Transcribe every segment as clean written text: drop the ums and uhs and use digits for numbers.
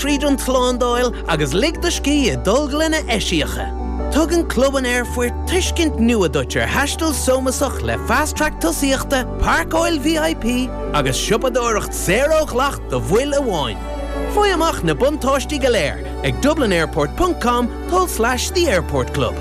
Tríd an tslándáil agus lig do scíth i dtolglanna eisiacha. Tugann Club an Aerfoirt tuiscint nua duit ar thaisteal sómasach le Fast Track tosaíochta, páirceáil VIP agus siopadóireacht saor ó dhleacht do bhaill amháin. Faigh amach na buntáistí go léir ag dublinairport ponc com tulslais the airport club.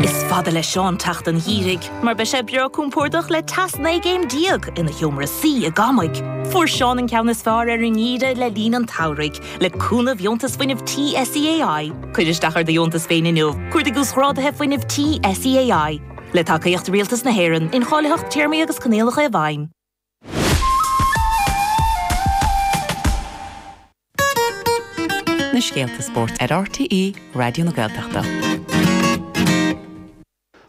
Is fada le Seán teacht an gheimhridh, mar beidh sé breá compordach le teas 19 gcéim ina sheomra suí i gCamaigh. Fuair Seán an ceann is fearr ar an ngeimhreadh le linn an tsamhraidh, le cúnamh Dheontas Fuinnimh Tí SEAI. Cuir isteach ar do dheontas féin inniu, cuardaigh Uasghráduithe Fuinnimh Tí SEAI. Le tacaíocht Rialtas na hÉireann, incháilitheacht, téarmaí agus coinníollacha i bhfeidhm. Na scéalta spóirt ar RTÉ Raidió na Gaeltachta.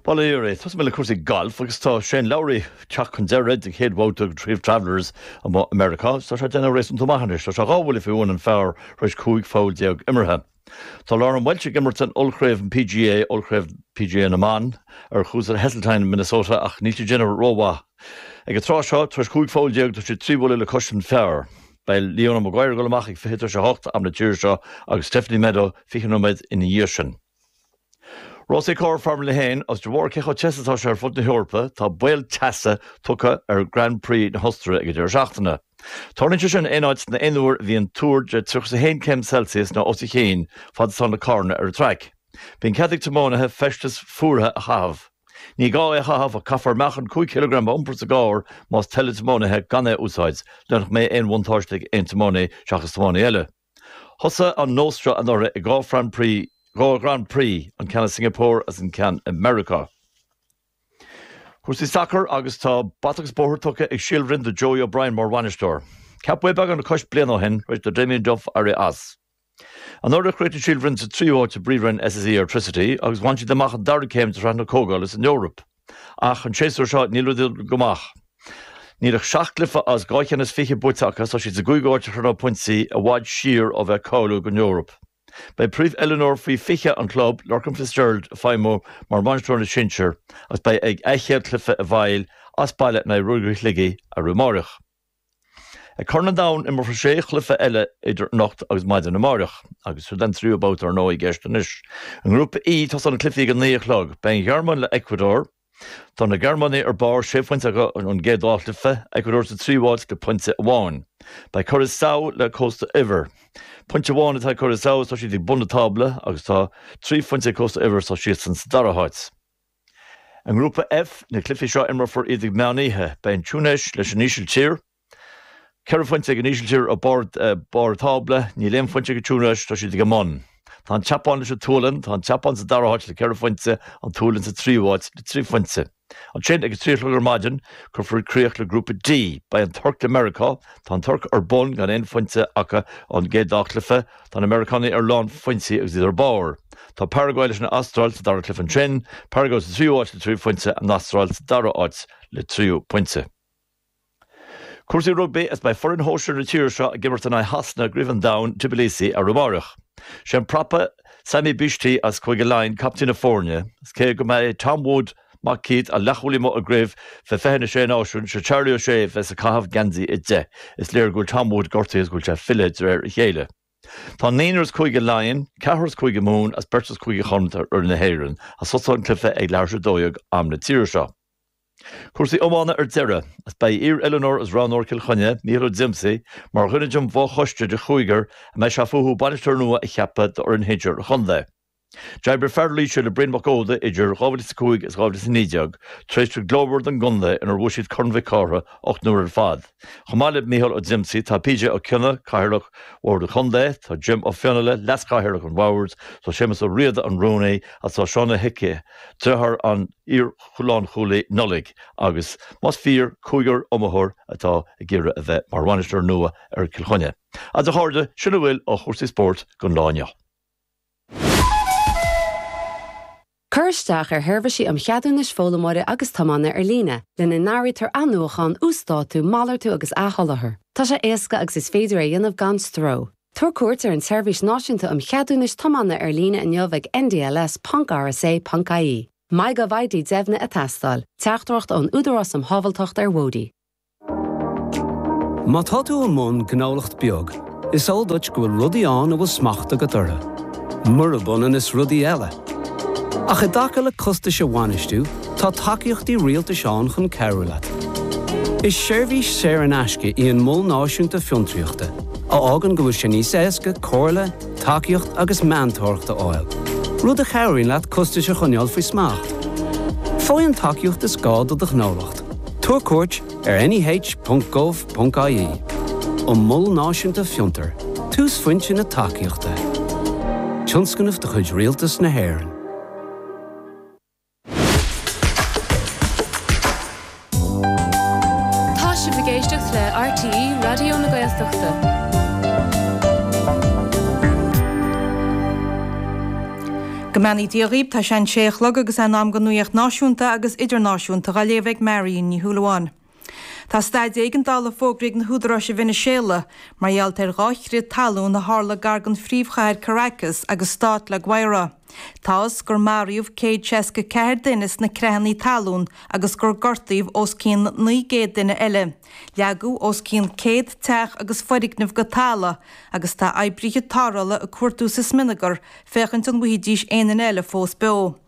Bail ó Dhia oraibh. Tosóidh mé le cúrsaí gailf agus tá Shane Lowry ag teacht chun deiridh den chéad bhabhta den Chraobh Travellers amuigh i Meiriceá agus tá sé ag déanamh réasúnta maith anois. Tá sé dhá bhuille faoi bhun an phar tar éis 15 pholl imeartha. Tá Lauren Welch ag imirt in Ollchraobh an PGA, Ollchraobh PGA na mBan, ar chúrsa Heseltine i Minnesota ach níl sí ag déanamh rómhaith. Ag an tráth seo, tar éis 15 pholl, tá sí trí bhuille le cois an phar. Beidh Leona Maguire ag dul amach ag 7:40 am na tíre seo agus Stephanie Meadow 20 nóiméad ina dhiaidh sin. Rásaí cairr Formula 1 agus de bharr cé chomh te is atá sé ar fud na hEorpa, tá baol teasa tugtha ar Grand Prix na hOstaire ag an deireadh seachtaine. Tarlaíonn sé sin aon áit nó aon uair a bhíonn tuar de 31 céim Celsius nó os a chionn fad is atá na carranna ar an traic. Bíonn cead ag tiománaithe feisteas fuaraithe a chaitheamh. Ní gá é a chaitheamh ach caithfear meáchan 5 chileagram a iompar sa gcarr más toil le tiománaithe gan é a úsáid, le nach mbeidh aon bhuntáiste ag aon tiománaí seachas tiománaí eile. Thosaigh an nós seo anuraidh i dhá Grand Prix, dhá Grand Prix, an ceann i Singapore agus an ceann i Meiriceá. Cúrsaí sacair agus tá bata agus bóthar tugtha ag Síol Bhroin do Joey O'Brien mar bhainisteoir. Ceapadh é beagán le cois bliana ó shin tar éis do Damien Duff éirí as. Anuraidh chríochnaigh Síol Bhroin sa tríú háit i bPríomhroinn SSE Airtricity agus bhain siad amach an dara céim de Shraith na Comhdhála san Eoraip. Ach an séasúr seo níl rudaí ag dul go maith. Níl ach seacht gcluiche as dhá cheann is fiche buaite acu agus tá siad sa gcúigiú háit ar chronóg pointí, i bhfad siar ó bheith ag cáiliú don Eoraip. Beidh príomh-oiliúnóir faoi 20 an chlub, Lorcan Fitzgerald, ag feidhmiú mar bhainisteoir na sinsear agus beidh ag a chéad chluiche i bhfeighil as baile in aghaidh Ruagairí Shligigh arú amáireach. Ag Corn an Domhain imreofar sé chluiche eile idir anocht agus maidin amáireach, agus siod an tríú babhta ar ndóigh i gceist anois. I nGrúpa E, tosóidh na cluichí ag a naoi a chlog. Beidh an Ghearmáin le Ecuador. Tá na Gearmánaigh ar barr, sé phointe acu ón gcéad dá chluiche, Ecuador sa tríú háit le pointe amháin. Beidh Curaçao le Cósta Eabhair. Pointe amháin atá ag Curaçao is tá siad ag bun na tábla agus tá trí phointe ag Cósta Eabhair is tá siadsan sa dara háit. I nGrúpa F, na cluichí seo imreofar iad ag meán oíche. Beidh an Túinéis leis an Ísiltír. Ceithre phointe ag an Ísiltír ar barr an tábla. Níl aon phointe ag an Túinéis, tá siad ag an mbun. Tá an tSeapáin leis an tSualainn. Tá an tSeapáin sa dara háit le ceithre phointe, an tSualainn sa tríú háit le trí phointe. Ansin, ag a trí a chlog ar maidin, cuirfear críoch le Grúpa D. Beidh an Tuirc le Meiriceá. Tá an Tuirc ar bun gan aon phointe acu ón gcéad dá chluiche. Tá na Meiriceánaigh ar lán phointí agus iad ar barr. Tá Paraguay leis an Astráil sa dara cluiche ansin, Paraguay sa tríú háit le trí phointe, an Astráil sa dara háit le trí phointe. Cúrsaí rugbaí agus beidh foireann shóisir na tíre seo ag imirt in aghaidh Shasana i gCraobh an Domhain, Tbilisi, arú amáireach. Sé an prapa Sammy Bishti as Cúige Laighean captaen na foirne, agus cé go mbeidh Tom Wood, mac Keith, an leathchúlaí amuigh i gCraobh fé 26 Náisiún, sé Charlie O'Shea a bheas ag caitheamh geansaí a 10. Is léir go bhfuil Tom Wood gortaithe agus go bhfuil sé ag filleadh de réir a chéile. Tá naonúr as Cúige Laighean, ceathrar as Cúige Mumhan agus beirt as Cúige Chonnacht ar fhoireann na hÉireann, agus tosóidh an cluiche ag leathuair tar éis a 12 am na tíre seo. Cúrsaí iomána ar deireadh, agus beidh iar-oiliúnóir agus roghnóir Chill Chainnigh, Mícheál Ó Díomasaigh, mar dhuine den bhfo-choiste de chúigear a mbeidh sé fúthu bainisteoir nua a cheapadh d'fhoireann shinsir an chontae. D'oibrigh fear Laoise le Brian Mac Óda idir 2005 agus 2019, tréimhse ghlórmhar don gcontae inar bhuaigh siad Corn Mhic Cárthaigh 8 n-uaire ar fad. Chomh maith le Mícheál Ó Díomasaigh, tá PJ Ó Cionnaith, Cathaoirleach Bhord an Chontae, tá Jim Ó Fionnaile, Leas-Chathaoirleach an Bhoird, tá Séamus Ó Riada, an Rúnaí, agus tá Seán Ó hIcí, deartháir an iar-lánchúlaí Nollaig, agus más fíor, cúigear iomaitheoir atá ag iarraidh a bheith mar bhainisteoir nua ar Chill Chainnigh. Agus a chairde, sin a bhfuil ó chúrsaí spóirt don lá inniu. Cuir isteach ar sheirbhísí um cheadúnais foghlaimeora agus tiomána ar líne, lena n-áirítear athnuachán, uasdátú, malartú agus athsholáthar. Tá sé éasca agus is féidir é a dhéanamh gan stró. Tabhair cuairt ar an tSeirbhís Náisiúnta um Cheadúnais Tiomána ar líne inniu ag ndls ponc rsa ponc ie. MyGovID deimhnithe ag teastáil. Teachtaireacht ón Údarás um Shábháilteacht ar Bhóithre. Má tá tú i mbun gnólacht beag. Is eol duit go bhfuil rudaí ann a bhfuil smacht agat orthu, murab ionann is rudaí eile. Ach i dtaca le costais a bhainistiú, tá tacaíochtaí rialtais ann chun cabhrú leat. Is seirbhís saor in aisce í an Mol Náisiúnta Fiontraíochta, a fhágann go bhfuil sé níos éasca comhairle, tacaíocht agus meantóireacht a fháil, rud a chabhraíonn leat costais a choinneáil faoi smacht. Faigh an tacaíocht is gá do do ghnólacht. Tabhair cuairt ar neh.gov.ie, An Mol Náisiúnta Fiontar, túsphointe na tacaíochta. Tionscnamh de chuid Rialtas na hÉireann. Tá sibh ag éisteacht le RTÉ Raidió na Gaeltachta. Go mbeannaí Dia dhaoib, tá sé an sé a chlog agus é in am don nuaíocht náisiúnta agus idirnáisiúnta dhá léamh ag Marion Ní Shúilleabháin. Tá staid éigeandála fógraithe ag na húdaráis i Veiniséala mar gheall ar dha chrith talún a tharla gar don phríomhchathair Caracas agus stát La Guaira. Táthas gur maraíodh 164 duine sna creathanna talún agus gur gortaíodh os cionn 900 duine eile. Leagadh os cionn 100 teach agus foirgneamh go talamh agus tá oibrithe tarrthála ag cuartú sa smionagar féachaint an bhfaighidís aon duine eile fós beo.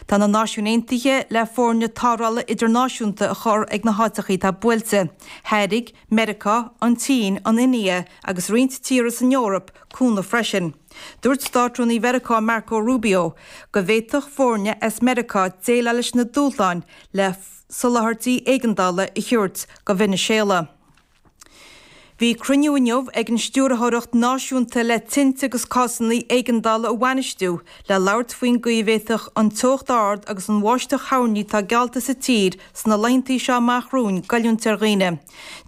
Tá na Náisiúin Aontaithe le foirne tarrthála idirnáisiúnta a chur ag na háiteachaí atá buailte. Thairg Meiriceá, an tSín, an India agus roinnt tíortha san Eoraip cúnamh freisin. Dúirt Státrúnaí Mheiriceá Marco Rubio go bhféadfadh foirne as Meiriceá déileáil leis na dúshláin le soláthairtí éigeandála a thabhairt go Veiniséala. Bhí cruinniú inniu ag an Stiúrthóireacht Náisiúnta le Tinte agus Cásanna Éigeandála a Bhainistiú le labhairt faoin gcaoi a bhféadfadh an teocht ard agus an bháisteach thoirní atá geallta sa tír sna laethantaí seo amach romhainn goilliúint ar dhaoine.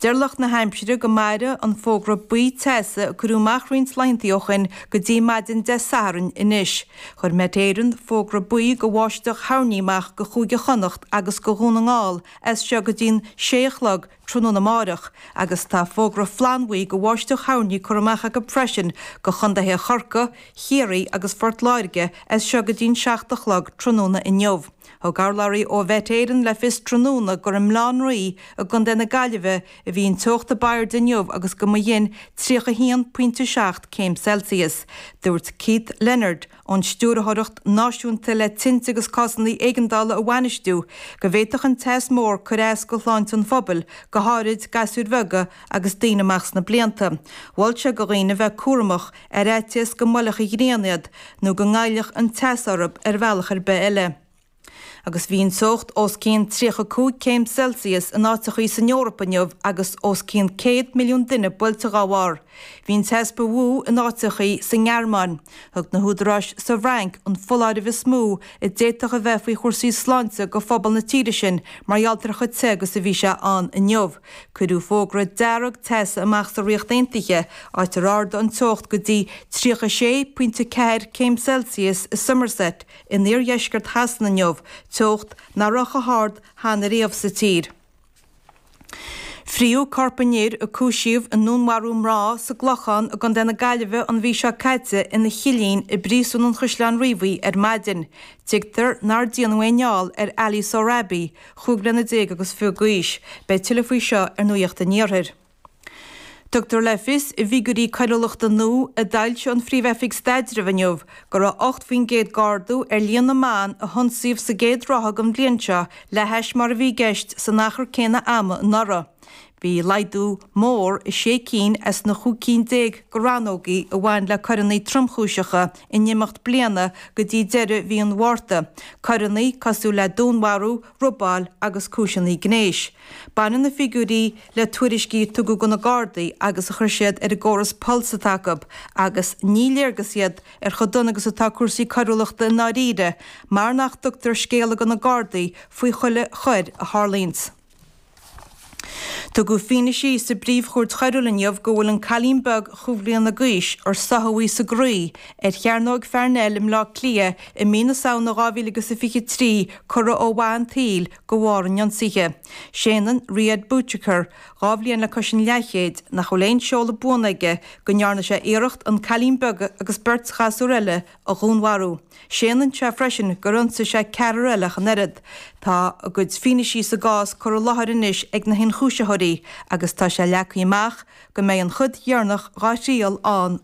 Deir lucht na haimsire go mairfidh an fógra buí teasa a cuireadh amach roinnt laethantaí ó shin go dtí maidin Dé Sathairn anois. Chuir Met Éireann fógra buí go bháisteach thoirní amach go Chúige Chonnacht agus go Dhún na nGall as seo go dtí'n sé a chlog tráthnóna amáireach agus tá fógra flannbhuí go bháisteach thoirní curtha amach acu freisin go chontaetha Chorcaí, Chiarraí agus Phort Láirge as seo go dtí'n 7 a chlog tráthnóna inniu. Thug urlabhraí ó Mhet Éireann le fios tráthnóna gur i mBaile Átha an Rí i gContae na Gaillimhe a bhí an teocht a b'airde inniu agus go mba shin 31.7 céim Celsius. Dúirt Keith Leonard, ón Stiúrthóireacht Náisiúnta le Tinte agus Cásanna Éigeandála a Bhainistiú, go bhféadfadh an teas mór cur as go shláinte an phobail, go háirid gasúir bheaga agus daoine amach sna blianta. Mhol sé go dhaoine bheith cúramach, ar fhaitíos go mbuailfeadh an ghrian iad, nó go ngoillfeadh an teas orthu ar bhealach ar bith eile. Agus bhí an teocht os cionn 35 céim Celsius in áiteachaí san Eoraip inniu agus os cionn 100 milliún duine buailte dhá bharr. Bhí an teas ba mhó in áiteachaí sa nGearmáin. Thug na húdaráis sa bhFrainc an foláireamh is mó a d'fhéadfadh a bheith faoi chúrsaí sláinte go phobal na tíre sin mar gheall ar chomh te agus a bhí sé ann inniu. Cuireadh fógra dearg teasa amach sa Ríocht Aontaithe, áit ar ardaigh an teocht go dtí 36.4 céim Celsius i Somerset, In iardheisceart Shasana inniu, teocht nach raibh chomh hard cheana riamh sa tír. Frítheadh corp an fhir a cúisíodh i ndúnmharú mná sa gClochán i gContae na Gaillimhe an mhí seo caite ina chillín i bPríosún an Chaisleáin Riabhaigh ar maidin. Tuigtear nár déanadh aon fheall ar Ali Sohrabi, 15 bliana agus fiche d'aois. Beidh tuilleadh faoi seo ar Nuacht an Iarthair. Tugtar le fios i bhfigiúirí coiriúlachta nua a d'fhoilsigh an Phríomh-Oifig Staidrimh inniu go raibh 8% d'ardú ar líon na mban a hionsaíodh sa gcéad ráithe den bhliain seo le hais mar a bhí i gceist san achar céanna ama anuraidh. Bhí laghdú mór i sé cinn as na chúig cinn déag de rannógaí a bhain le coireanna tromchúiseacha in imeacht bliana go dtí deireadh mhí an Mhárta, coireanna cosúil le dúnmharú, robáil agus cúiseanna gnéis. Baineann na figiúirí le tuairiscí a tugadh do na Gardaí agus a chuir siad ar an gcóras Pulse atá acu agus ní léargas iad ar chomh dona agus atá cúrsaí coiriúlachta i ndáiríre mar nach dtugtar scéala do na Gardaí faoi chuile choir a tharlaíonns. Tugadh fianaise sa bPríomh-Chúirt Choiriúil inniu go bhfuil an cailín beag chúig bhliana d'aois ar soitheadh í sa gcroí ar Chearnóg Pharnell i mBleá Cliath i mí na Samhna 2023 curtha ó mhaith an tsaoil de bharr an ionsaithe. Séanann Riyad Bouchaker, 2 bhliain le cois an leathchéid, nach bhfuil aon seoladh buan aige, go ndearna sé iarracht an cailín beag agus beirt ghasúr eile a dhúnmharú. Séanann sé freisin gur ionsaigh sé ceathrar eile ach an oiread. Tá a gcuid fianaisí sa gcás curtha i láthair anois ag na hionchúiseamh. hionchúisitheoirí agus tá sé leagtha amach go mbeidh an chuid dheireanach dhá thriail ann.